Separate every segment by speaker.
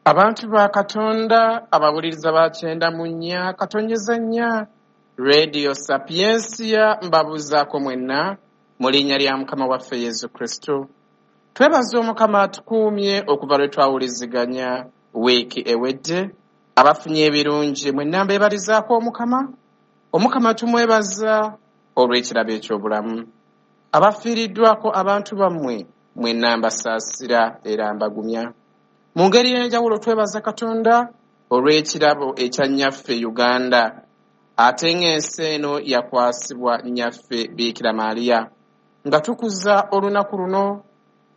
Speaker 1: Abantu ba Katonda abawuliriza ba 94.4 Radio Sapiensia, mbabuuzaako mwenna mu linnya lya Mukama waffe Yesu Kristo. Twebaza Omukama atukuumye okuva lwe twawuliziganya wiiki ewedde. Abafunye ebirungi mwenna mbeebalizaako Omukama. Omukama tumwebaza olw'ekirabo eky'obulamu. Abafiiriddwako abantu bammwe mwenna mbasaasira era mbagumya. Mu ngeri y'enjawulo twebaza Katonda olw'ekirabo ekya nnyaffe Uganda, ate ng'ensi eno yakwasibwa nnyaffe Biikira Maria. Nga tukuza olunaku luno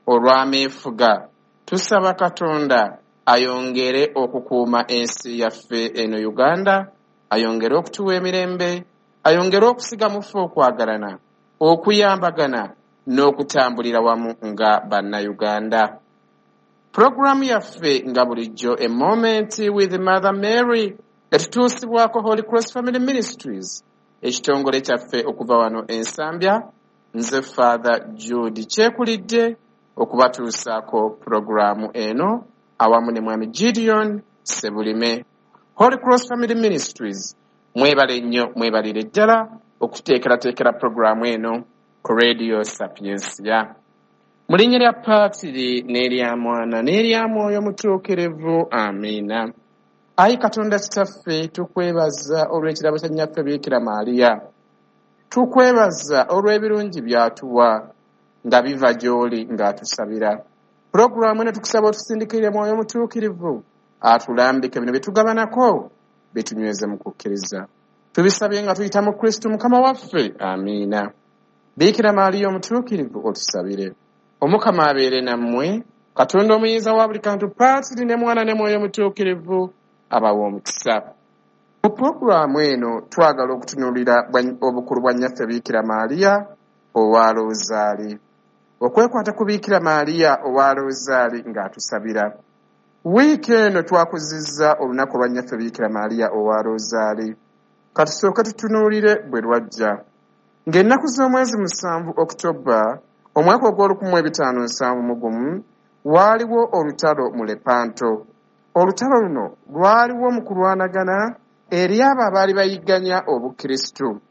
Speaker 1: olw'ameefuga, tusaba Katonda ayongere okukuuma ensi yaffe eno Uganda, ayongere okutuwa emirembe, ayongere okusiga mu ffe okwagalana, okuyambagana n'okutambulira wamu nga Bannayuganda. Pulogulaamu yaffe nga bulijjo A Moment with Mother Mary etutuusibwako Holy Cross Family Ministries, ekitongole kyaffe okuva wano Ensambya. Nze Father Jude Kyekulidde okubatuusaako pulogulaamu eno awamu ne Mwami Gideon Sebulime. Holy Cross Family Ministries mwebale nnyo, mwebalire ddala okuteekerateekera pulogulaamu eno ku Radio Sapiensia. Mu linnya lya Paatiri n'erya Mwana n'erya Mwoyo Mutuukirivu, amiina. Ayi Katonda Kitaffe, tukwebaza olw'ekirabo kya Nnyaffe Biikira Maria. Tukwebaza olw'ebirungi by'atuwa nga biva gy'oli ng'atusabira. Pulogulaamu eno tukusaba otusindikirire Mwoyo Mutuukirivu atulambike bino bye tugabanako bitunyweze mu kukkiriza. Tubisabye nga tuyita mu Kristo Mukama waffe, amiina. Biikira Maria Omutuukirivu otusabire. Omukama abeere nammwe, Katonda omuyinza wa buli kantu, Paatiri ne Mwana ne Mwoyo Mutuukirivu abawe omukisa. Mu pulogulaamu eno twagala okutunuulira obukulu bwa Nnyaffe Biikira Maria owa Loozaali. Okwekwata ku Biikira Maria owa Loozaali ng'atusabira. Wiiki eno twakuzizza olunaku lwa Nnyaffe Biikira Maria owa Loozaali. Katusooke tutunuulire bwe lwajja. Ng'ennaku z'omwezi 7 Oktoba omwaka ogw'olukumi 1571 waaliwo olutalo mu Lepanto. Olutalo luno lwaliwo mu kulwanagana eri abo abaali bayigganya Obukristu.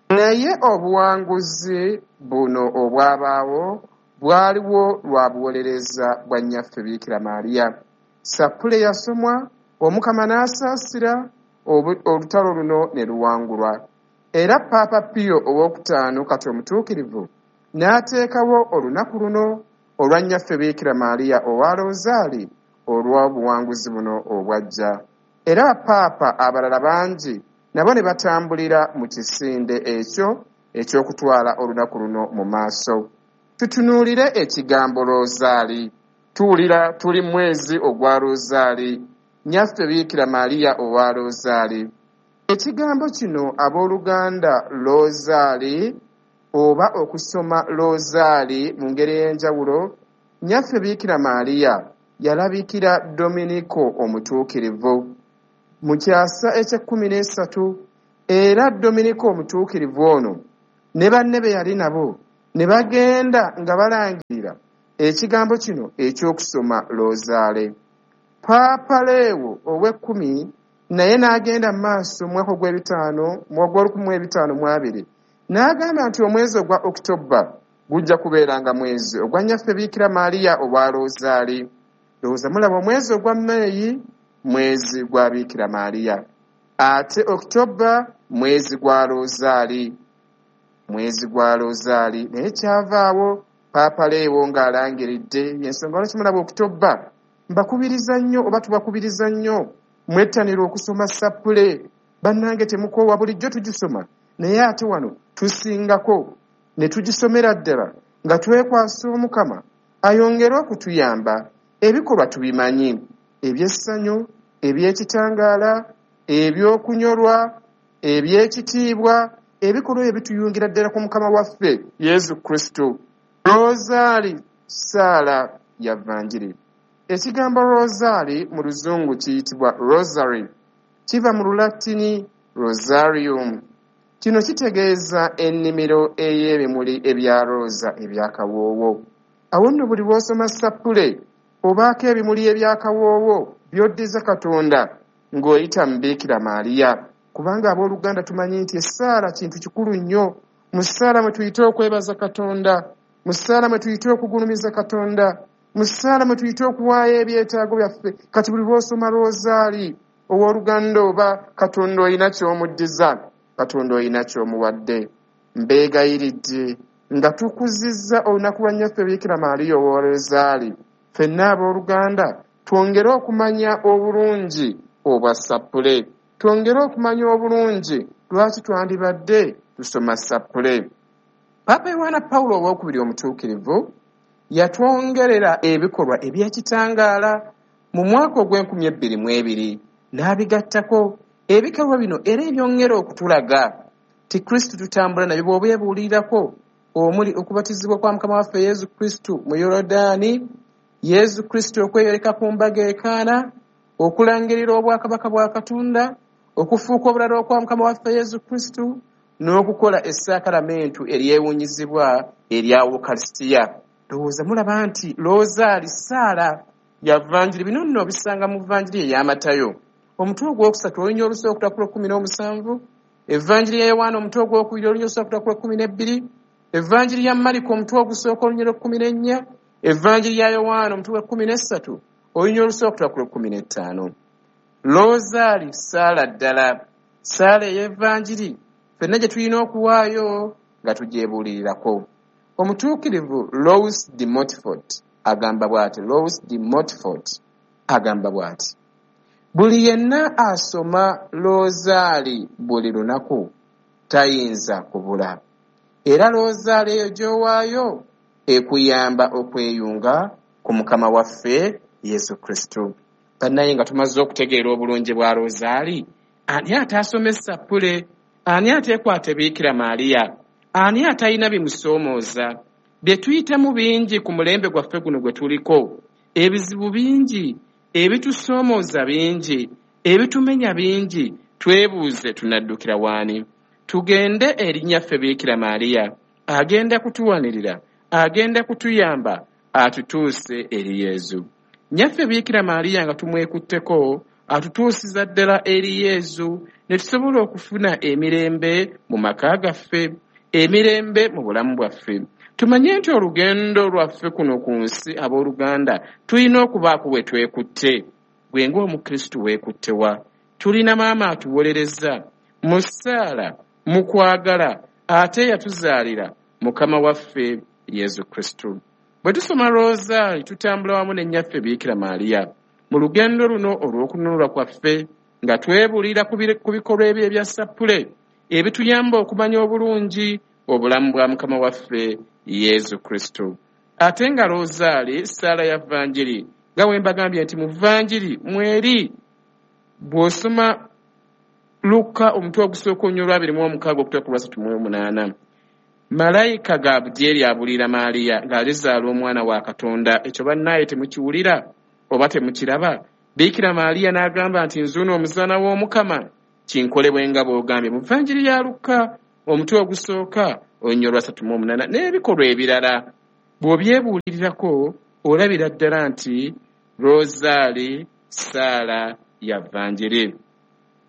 Speaker 1: Naye obuwanguzi buno obwabaawo bwaliwo lwa buwolereza bwa Nnyaffe Biikira Maria. Sappule yasomwa, Omukama n'asaasira, olutalo luno ne luwangulwa. Era Paapa Pio ow'okutaano kati omutuukirivu n'ateekawo olunaku luno olwa Nnyaffe Biikira Maria owa Loozaali olw'obuwanguzi buno obwajja. Era bapaapa abalala bangi nabo ne batambulira mu kisinde ekyo eky'okutwala olunaku luno mu maaso. Tutunuulire ekigambo Loozaali. Tuwulira tuli mwezi ogwa Loozaali, Nnyaffe Biikira Maria owa Loozaali. Ekigambo kino abooluganda Loozaali oba okusoma Loozaali mu ngeri ey'enjawulo, Nnyaffe Biikira Maria yalabikira Dominiko Omutuukirivu mu kyasa eky'ekkumi n'esatu, era Dominiko Omutuukirivu ono ne banne be yali nabo ne bagenda nga balangirira ekigambo kino eky'okusoma Loozaale. Paapa Leewo ow'ekkumi naye n'agenda mu maaso mu mwaka ogw'ebitaano ogw'olukumi mu 520 n'agamba nti omwezi ogwa Okitoba gujja kubeeranga mwezi ogwa Nnyaffe Biikira Maria owa Loozaali. Ndowooza mulaba omwezi ogwa Meeyi mwezi gwa Biikira Maria, ate Okitoba mwezi gwa Loozaali, mwezi gwa Loozaali. Naye kyavaawo Paapa Leewo ng'alangiridde. Yensonga lwaki mulaba Okitoba mbakubiriza nnyo oba tubakubiriza nnyo mwettanira okusoma sappule. Bannange, temukoowa, bulijjo tugisoma, naye ate wano tusingako ne tugisomera ddala nga twekwasa Omukama ayongere okutuyamba. Ebikolwa tubimanyi, eby'essanyu, eby'ekitangaala, ebyokunyolwa, eby'ekitiibwa, ebikolwa ebyo bituyungira ddala ku Mukama waffe Yesu Kristo. Rosaali ssaala ya vanjiri. Ekigambo rosaali mu Luzungu kiyitibwa rosary, kiva mu Lulatini rosarium. Kino kitegeeza ennimiro ey'ebimuli ebya rooza ebyakawoowo. Awo nno buli lw'osoma sappule Obaako ebimuli ebyakawoowo by'oddiza Katonda ng'oyita mu Biikira Maaliya. Kubanga abooluganda tumanyi nti essaala kintu kikulu nnyo. Mu ssaala mwe tuyita okwebaza Katonda, mu ssaala mwe tuyita okugulumiza Katonda, mu ssaala mwe tuyita okuwaayo ebyetaago byaffe. Kati buli lw'osoma Rozaali, owooluganda, oba Katonda olina ky'omuddiza, Katonda olina ky'omuwadde. Mbeegayiridde nga tukuzizza olunaku lwa Nnyaffe Biikira Maaliya owa Rozaali, ffenna abooluganda twongere okumanya obulungi obwa ssappule, twongere okumanya obulungi lwaki twandibadde tusoma ssappule. Paapa Yowaana Pawulo Owookubiri Omutuukirivu yatwongerera ebikolwa eby'ekitangaala mu mwaka ogw'enkumi ebbiri mu ebiri n'abigattako. Ebikolwa bino era ebyongera okutulaga ti Kristo tutambula nabyo bw'obyebuulirirako, omuli okubatizibwa kwa Mukama waffe Yesu Kristo mu Yorodaani, Yesu Kristo okweyoleka ku mbaga e Kaana, okulangirira obwakabaka bwa Katonda, okufuuka obulala okwa Mukama waffe Yesu Kristo, n'okukola essaakalamentu eryewuunyizibwa erya Ukarisitiya. Ndowooza mulaba nti Loozaali ssaala ya Vanjiri. Bino nno obisanga mu Vanjiri eya Matayo omutwe ogwokusatu olunya olusooka ku lw'ekkumi n'omusanvu, Evanjiri ya Yowaana omutwe ogwokubiri olunya olusooka ku lw'ekkumi n'ebbiri, Evanjiri ya Mariko omutwe ogusooka olunya lw'ekkumi n'ennya, Evanjiri ya Yowaana omutwe gw'ekkumi n'essatu olunya olusooka ku lw'ekkumi n'ettaano. Loozaali ssaala ddala, ssaala ey'Evanjiri ffenna gye tulina okuwaayo nga tugyebuulirirako. Omutuukirivu Louis de Montfort agamba bw'ati, Louis de Montfort agamba bw'ati: buli yenna asoma Loozaali buli lunaku tayinza kubula. Era Loozaali eyo gy'owaayo ekuyamba okweyunga ku Mukama waffe Yesu Kristo. Bannaye, nga tumaze okutegeera obulungi bwa Loozaali, ani ataasoma essappule? Ani ateekwate Biikira Maaliya? Ani atalina bimusoomooza? Bye tuyitamu bingi ku mulembe gwaffe guno gwe tuliko. Ebizibu bingi, ebitusoomooza bingi, ebitumenya bingi. Twebuuze, tunaddukira waani? Tugende eri Nnyaffe Biikira Maaliya. Agenda kutuwanirira, agenda kutuyamba atutuuse eri Yezu. Nnyaffe Biikira Maaliya nga tumwekutteko atutuusiza ddala eri Yezu ne tusobola okufuna emirembe mu maka gaffe, emirembe mu bulamu bwaffe. Tumanye nti olugendo lwaffe kuno ku nsi, abooluganda, tulina okubaako we twekutte. Gwe ng'Omukristu weekutte wa? Tulina maama atuwolereza mu ssaala, mu kwagala, ate yatuzaalira Mukama waffe Yesu Kristo. Bwe tusoma Rozaali tutambula wamu ne Nnyaffe Biikira Maaliya mu lugendo luno olw'okununulwa kwaffe, nga twebuulira ku bikolwa ebyo ebya ssappule ebituyamba okumanya obulungi obulamu bwa Mukama waffe Yesu Kristo. Ate nga Rozaali ssaala ya Vanjiri, nga bwe mbagambye nti mu Vanjiri mweri, bw'osoma Lukka omutwe ogusooka olunya olwabiri mu omukaaga okutuuka ku lwasatu mu omunaana, Malayika Gabudyeri abuulira Maaliya ng'alizaala omwana wa Katonda. Ekyo bannaaye temukiwulira oba temukiraba? Biikira Maaliya n'agamba nti, nzuuno omuzaana w'Omukama, kinkolebwe nga bw'ogambye. Mu Vanjiri ya Lukka omutwe ogusooka olunya olwasatu mu omunaana n'ebikolwa ebirala, bw'obyebuulirirako olabira ddala nti Rozaali ssaala ya Vanjiri.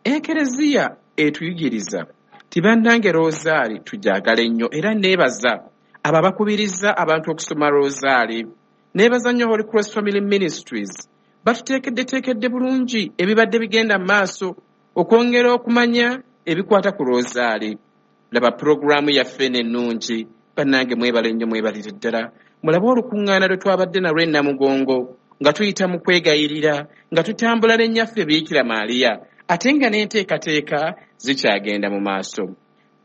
Speaker 1: Ekereziya etuyigiriza ti bannange Rozaali tugyagale nnyo, era neebaza abo abakubiriza abantu okusoma Rozaali. Neebaza nnyo Holy Cross Family Ministries, batuteekeddeteekedde bulungi ebibadde bigenda mu maaso okwongera okumanya ebikwata ku Rozaali. Laba pulogulaamu yaffe eno ennungi, bannange mwebale nnyo, mwebalire ddala. Mulabe olukuŋŋaana lwe twabadde nalwo e Namugongo nga tuyita mu kwegayirira, nga tutambula ne Nnyaffe Biikira Maaliya, ate nga n'enteekateeka zikyagenda mu maaso.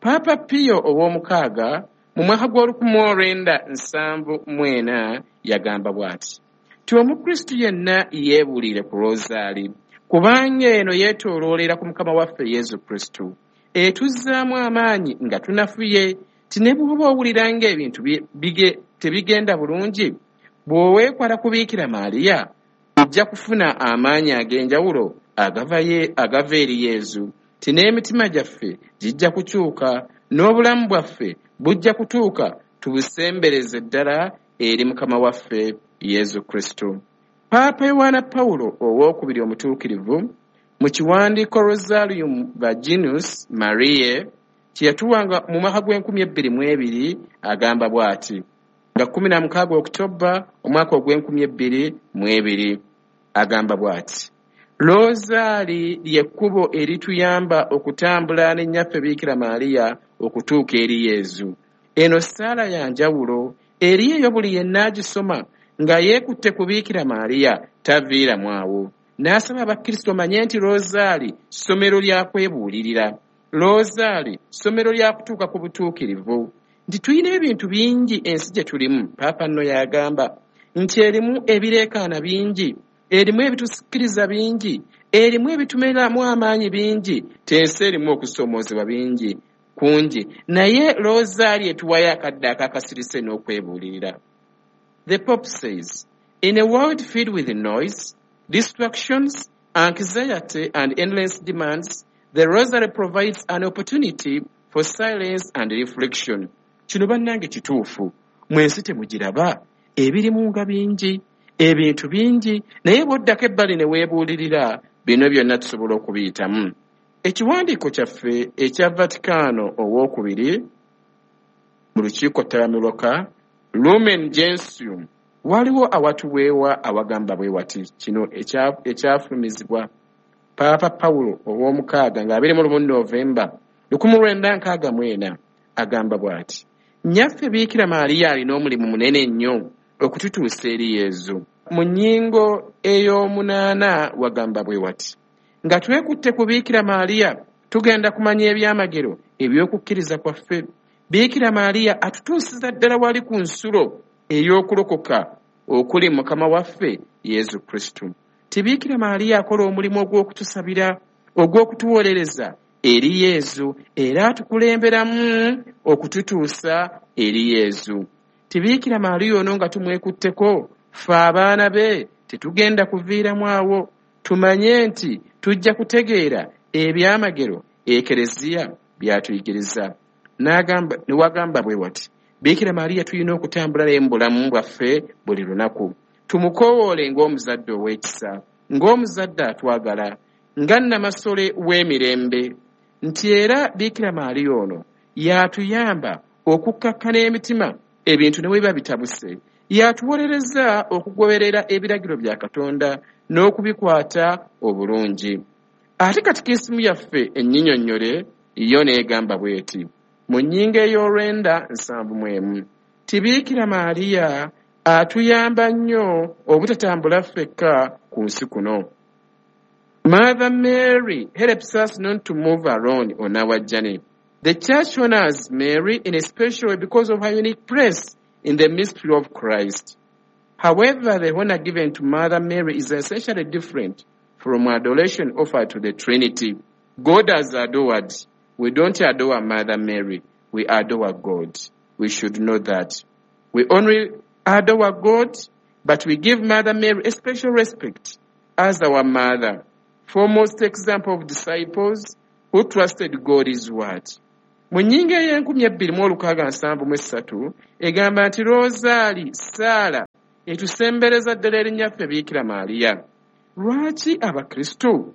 Speaker 1: Paapa Pio ow'omukaaga mu mwaka gw'olukumi olwenda nsanvu mu ena yagamba bw'ati ti Omukristu yenna yeebuulire ku Rozaali, kubanga eno yeetooloolera ku Mukama waffe Yesu Kristo, etuzzaamu amaanyi nga tunafuye. Ti ne bw'oba owulira ng'ebintu tebigenda bulungi, bw'oweekwata ku Biikira Maaliya ojja kufuna amaanyi ag'enjawulo agava eri Yezu. Ti n'emitima gyaffe gijja kukyuka, n'obulamu bwaffe bujja kutuuka tubusembereze ddala eri Mukama waffe Yesu Kristo. Paapa Yowaana Pawulo Owookubiri Omutuukirivu mu kiwandiiko Rosarium Virginis Mariae kye yatuwanga mu mwaka gw'e2002 agamba bw'ati, nga 16 Okutobba omwaka ogw'e2002, agamba bw'ati: Loozaali ly'ekkubo erituyamba okutambula ne Nnyaffe Biikira Maria okutuuka eri Yezu. Eno ssaala ya njawulo eri eyo buli yenna agisoma nga yeekutte ku Biikira Maria taviiramu awo. N'asaba Abakristo manye nti Loozaali ssomero lya kwebuulirira. Loozaali ssomero lya kutuuka ku butuukirivu. Nti tulina ebintu bingi ensi gye tulimu. Paapa nno yagamba nti erimu ebireekaana bingi, erimu ebitusikiriza bingi, erimu ebitumeramu amaanyi bingi, tensi erimu okusoomoozebwa bingi kungi. Naye Loozaali etuwayo akadde akakasirise n'okwebuulirira. The Pope says, in a world filled with noise, distractions, anxiety, and endless demands, the Rosary provides an opportunity for silence and reflection. Kino bannange kituufu. Mwensi temugiraba, ebirimu nga bingi, ebintu bingi, naye bw'oddako ebbali ne weebuulirira, bino byonna tusobola okubiyitamu. Ekiwandiiko kyaffe ekya Vatikano Owookubiri mu lukiiko ttabamiruka Lumen Gentium waliwo awatuweewa awagamba bwe wati, kino ekyafulumizibwa Paapa Pawulo Ow'omukaaga nga 21 Novemba 1964, agamba bw'ati: Nnyaffe Biikira Maria alina omulimu munene nnyo okututuusa eri Yezu. Mu nnyingo ey'omunaana wagamba bwe wati, nga twekutte ku Biikira Maria tugenda kumanya ebyamagero eby'okukkiriza kwaffe. Biikira Maria atutuusiza ddala wali ku nsulo ey'okulokoka okuli Mukama waffe Yezu Kristo. Ti Biikira Maria akola omulimu ogw'okutusabira, ogw'okutuwolereza eri Yezu, era atukulemberamu okututuusa eri Yezu. Ti Biikira Maria ono nga tumwekutteko, ffe abaana be tetugenda kuviiramu awo. Tumanye nti tujja kutegeera ebyamagero Ekereziya by'atuyigiriza. Ne wagamba bwe wati, Biikira Maria tulina okutambula naye mu bulamu bwaffe buli lunaku. Tumukowoole ng'omuzadde ow'ekisa, ng'omuzadde atwagala, nga nnamasole w'emirembe. Nti era Biikira Maria ono y'atuyamba okukkakkana emitima ebintu ne bwe biba bitabuse. Y'atuwolereza okugoberera ebiragiro bya Katonda n'okubikwata obulungi. Ate katikisimu yaffe ennyinyonnyole yo n'egamba bw'eti, mu nnyingo ey'olwenda 71, ti Biikira Maria atuyamba nnyo obutatambula ffekka ku nsi kuno. Mother Mary helps us not to move alone on our journey. The Church honors Mary in a special way because of her unique place in the mystery of Christ. However, the honor given to Mother Mary is essentially different from adoration offered to the Trinity. God has adored. We don't adore Mother Mary. We adore God. We should know that. We only adore God, but we give Mother Mary a special respect as our mother. Foremost example of disciples who trusted God is what? Mu nnyingo ey'e2673 egamba nti Rosaali ssaala etusembereza ddala eri Nnyaffe Biikira Maria. Lwaki Abakristo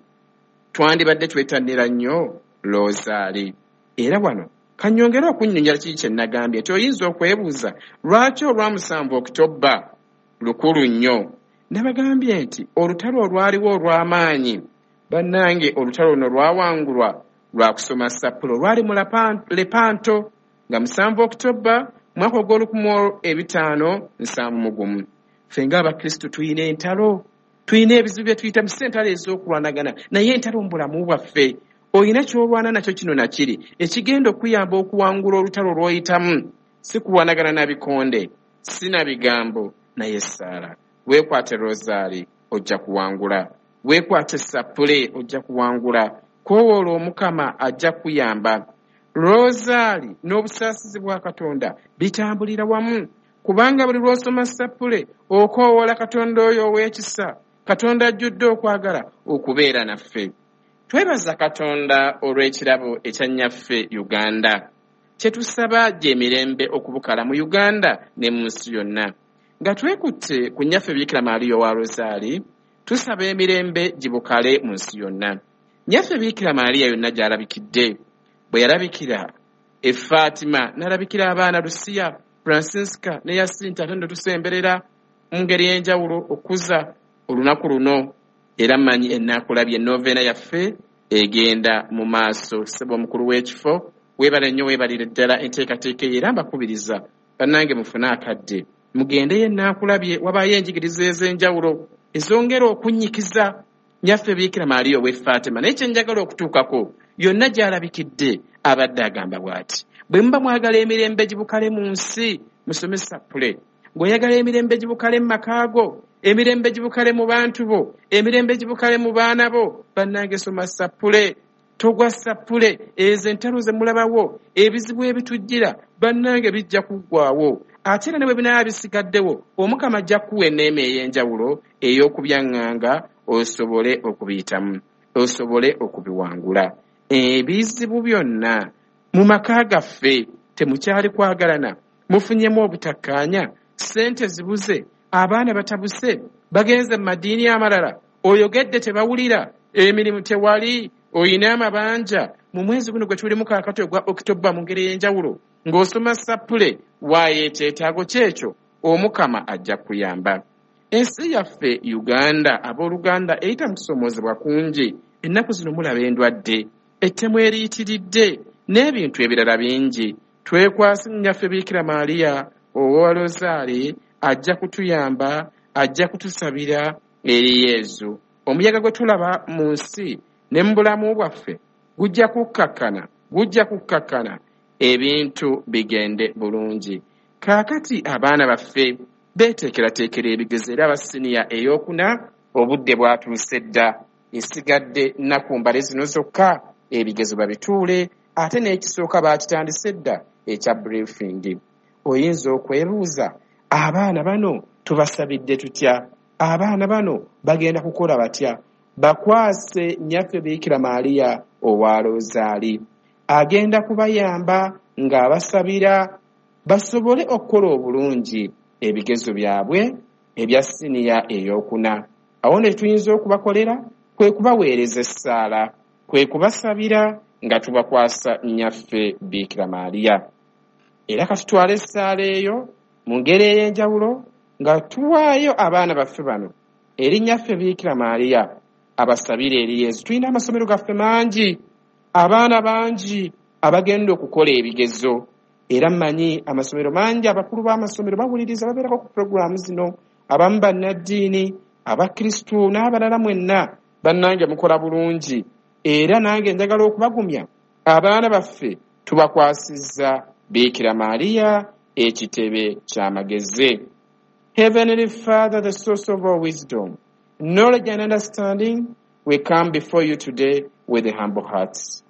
Speaker 1: twandibadde twettanira nnyo Rosaali? Era wano kannyongere okunnyonnyola kiki kye nagambye nti oyinza okwebuuza lwaki olwa 7 Okutobba lukulu nnyo. Nabagambye nti olutalo olwaliwo olw'amaanyi, bannange, olutalo luno lwawangulwa lwa kusoma sappulo. Lwali mu Lepanto nga 7 Okutobba mwaka ogw'o1571. Ffe ng'Abakristo tulina entalo, tulina ebizibu bye tuyitamu, si entalo ez'okulwanagana, naye entalo mu bulamu bwaffe. Olina ky'olwana nakyo kino na kiri ekigenda okuyamba okuwangula olutalo lw'oyitamu, si kulwanagana na bikonde, si na bigambo, naye ssaala. Weekwate Rosaali, ojja kuwangula. Weekwate sappule, ojja kuwangula. Koowoola Omukama, ajja kuyamba. Rosaali n'obusaasizi bwa Katonda bitambulira wamu, kubanga buli lw'osoma sappule okoowoola Katonda oyo ow'ekisa, Katonda ajjudde okwagala okubeera naffe. Twebaza Katonda olw'ekirabo ekya Nnyaffe Uganda. Kye tusaba gy'emirembe okubukala mu Uganda ne mu nsi yonna. Nga twekutte ku Nnyaffe Biikira Maria owa Rosaali, tusaba emirembe gibukale mu nsi yonna. Nnyaffe Biikira Maria yonna gy'alabikidde, bwe yalabikira e Fatima, n'alabikira abaana Lucia, Francisca ne Yasinta, ate nno tusemberera mu ngeri ey'enjawulo okukuza olunaku luno. Era mmanyi ennaakulabye noveena yaffe egenda mu maaso. Ssebo omukulu w'ekifo, weebale nnyo, weebalire ddala enteekateeka eyo, era mbakubiriza bannange mufune akadde mugendeyo ennaakulabye, wabaayo enjigiriza ez'enjawulo ezongera okunnyikiza Nnyaffe Biikira Maria ow'e Fatima. Naye kye njagala okutuukako, yonna gy'alabikidde abadde agamba bw'ati: bwe muba mwagala emirembe gibukale mu nsi, musome sappule. Ng'oyagala emirembe gibukale mu maka go, emirembe gibukale mu bantu bo, emirembe gibukale mu baana bo, bannange soma sappule. Togwa sappule. Ezo entalo ze mulabawo, ebizibu ebitujjira, bannange bijja kuggwaawo. Ate era ne bwe binaaba bisigaddewo, Omukama ajja kukuwa enneema ey'enjawulo ey'okubyaŋŋanga osobole okubiyitamu, osobole okubiwangula. Ebizibu byonna mu maka gaffe, temukyali kwagalana, mufunyemu obutakkaanya, ssente zibuze, abaana batabuse, bagenze mu madiini amalala, oyogedde tebawulira, emirimu tewali, oyina amabanja. Mu mwezi guno gwe tulimu kaakati ogwa Okitoba, mu ngeri ey'enjawulo ng'osoma sappule, waayo ekyetaago kyekyo, Omukama ajja kuyamba. Ensi yaffe Uganda, abooluganda, eyita mu kusoomoozebwa kungi. Ennaku zino mulaba endwadde, ettemu eriyitiridde n'ebintu ebirala bingi. Twekwase Nnyaffe Biikira Maria owa Rosaali, ajja kutuyamba, ajja kutusabira eri Yezu. Omuyaga gwe tulaba mu nsi ne mu bulamu bwaffe gujja kukkakkana, gujja kukkakkana, ebintu bigende bulungi. Kaakati abaana baffe beeteekerateekera ebigezo, era aba siniya ey'okuna obudde bwatuuse dda, esigadde nnaku mbale zino zokka ebigezo babituule, ate n'ekisooka baakitandise dda ekya briefing. Oyinza okwebuuza, abaana bano tubasabidde tutya? Abaana bano bagenda kukola batya? Bakwase Nnyaffe Biikira Maria owa Rosaali, agenda kubayamba ng'abasabira basobole okukola obulungi ebigezo byabwe ebya siniya ey'okuna. Awo ne tuyinza okubakolera kwe kubaweereza essaala, kwe kubasabira nga tubakwasa Nnyaffe Biikira Maria. Era katutwale essaala eyo mu ngeri ey'enjawulo nga tuwaayo abaana baffe bano eri Nnyaffe Biikira Maria abasabire eri Yezu. Tulina amasomero gaffe mangi, abaana bangi abagenda okukola ebigezo, era mmanyi amasomero mangi, abakulu b'amasomero bawuliriza, babeerako ku puroguraamu zino, abamu bannaddiini, abakristu n'abalala mwenna. Bannange mukola bulungi, era nange njagala okubagumya, abaana baffe tubakwasizza Biikira Maria, ekitebe ky'amagezi. Heavenly Father, the source of all wisdom, knowledge and understanding, we come before you today with humble hearts.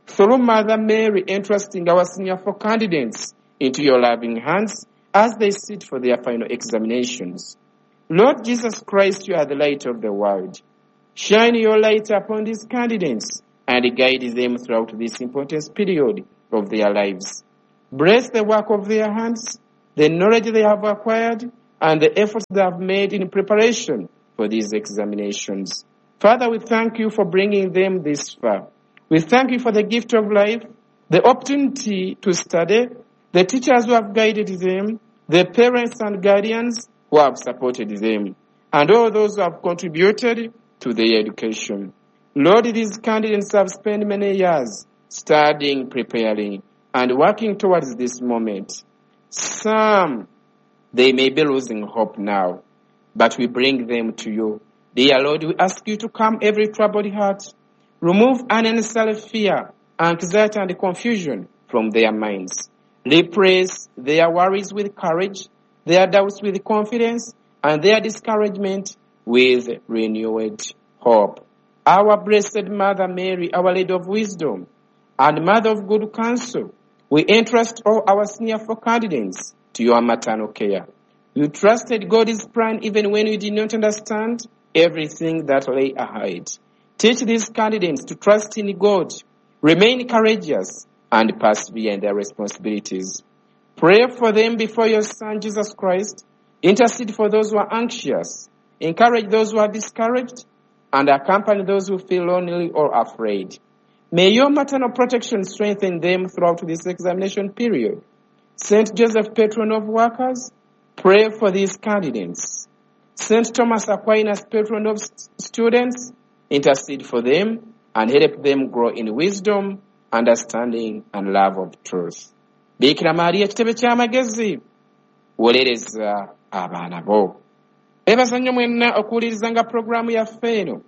Speaker 1: Through Mother Mary, entrusting our senior four candidates into your loving hands as they sit for their final examinations. Lord Jesus Christ, you are the light of the world. Shine your light upon these candidates and guide them throughout this important period of their lives. Bless the work of their hands, the knowledge they have acquired, and the efforts they have made in preparation for these examinations. Father, we thank you for bringing them this far. We thank you for the gift of life, the opportunity to study, the teachers who have guided them, the parents and guardians who have supported them, and all those who have contributed to their education. Lord, these candidates have spent many years studying, preparing, and working towards this moment. Some, they may be losing hope now, but we bring them to you. Dear Lord, we ask you to calm every troubled heart, remove unnecessary fear, anxiety, and confusion from their minds. Replace their worries with courage, their doubts with confidence, and their discouragement with renewed hope. Our blessed Mother Mary, Our Lady of Wisdom, and Mother of Good Counsel, we entrust all our senior four candidates to your maternal care. You trusted God's plan even when you did not understand everything that lay ahead. Teach these candidates to trust in God, remain courageous, and persevere in their responsibilities. Pray for them before your Son, Jesus Christ, Intercede for those who are anxious, encourage those who are discouraged, and accompany those who feel lonely or afraid. May your maternal protection strengthen them throughout this examination period. Saint Joseph, patron of workers, pray for these candidates. Saint Thomas Aquinas, patron of students, intercede for them and help them grow in wisdom, understanding, and love of truth. Bikira Maria, kitebe ky'amagezi, wolereza abaana bo. Beebaza nnyo mwenna okuwulirizanga pulogulaamu yaffe eno.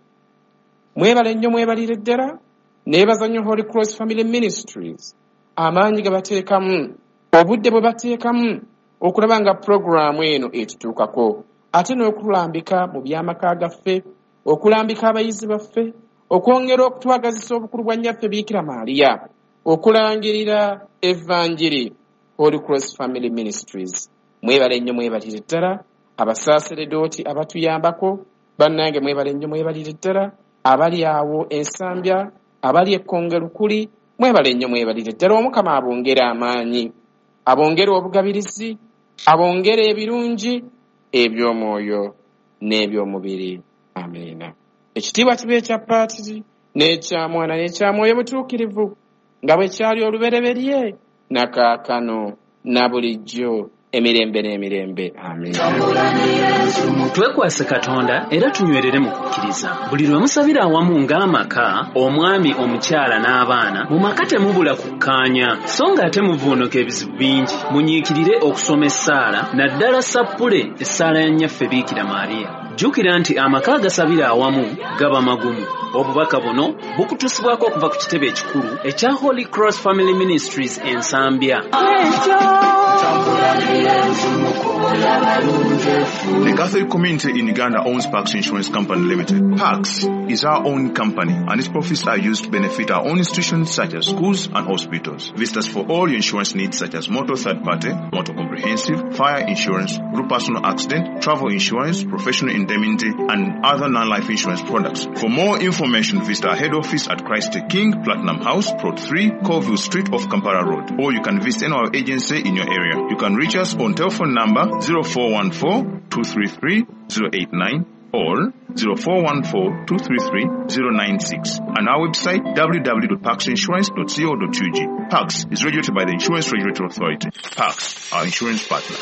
Speaker 1: Mwebale nnyo, mwebalire ddala. Neebaza nnyo Holy Cross Family Ministries, amaanyi ge bateekamu, obudde bwe bateekamu okulaba nga pulogulaamu eno etutuukako, ate n'okulambika mu by'amaka gaffe, okulambika abayizi baffe, okwongera okutwagazisa obukulu bwa nnyaffe Biikira Maaliya, okulangirira evanjiri. Holy Cross Family Ministries, mwebale nnyo, mwebalire ddala. Abasaaseredooti abatuyambako, bannange mwebale nnyo, mwebalire ddala. Abali awo Ensambya, abali Ekkonge Lukuli, mwebale nnyo, mwebalire ddala. Omukama abongere amaanyi, abongere obugabirizi, abongere ebirungi eby'omwoyo n'eby'omubiri. Amiina. Ekitiibwa kibe ekya Paatiri n'ekya Mwana n'ekya Mwoyo Mutuukirivu, nga bwe kyali olubereberye, na kaakano na bulijjo, emirembe n'emirembe. Amiina.
Speaker 2: Twekwase Katonda era tunywerere mu kukkiriza. Buli lwe musabira awamu ng'amaka, omwami, omukyala n'abaana, mu maka temubula kukkaanya, so ng'ate muvuunuka ebizibu bingi. Munyiikirire okusoma essaala, naddala sappule essaala ya nnyaffe Biikira Maariya. Jjukira nti amaka agasabira awamu gaba magumu. Obubaka buno bukutuusibwako okuva ku kitebe ekikulu ekya Holy Cross Family Ministries, Ensambya.
Speaker 3: The Catholic community in Uganda owns Pax Insurance Company Limited. Pax is our own company and its profits are used to benefit our own institutions such as schools and hospitals. Visit us for all your insurance needs such as motor third party, motor comprehensive, fire insurance, group personal accident, travel insurance, professional indemnity, and other non-life insurance products. For more information, visit our head office at Christ the King, Platinum House, Plot 3, Colville Street off Kampala Road. Or you can visit any our agency in your area. You can reach us on telephone number 0414 233 089 or 0414 233 096 and our website www.paxinsurance.co.ug. Pax is regulated by the Insurance Regulatory Authority. Pax, our insurance partner.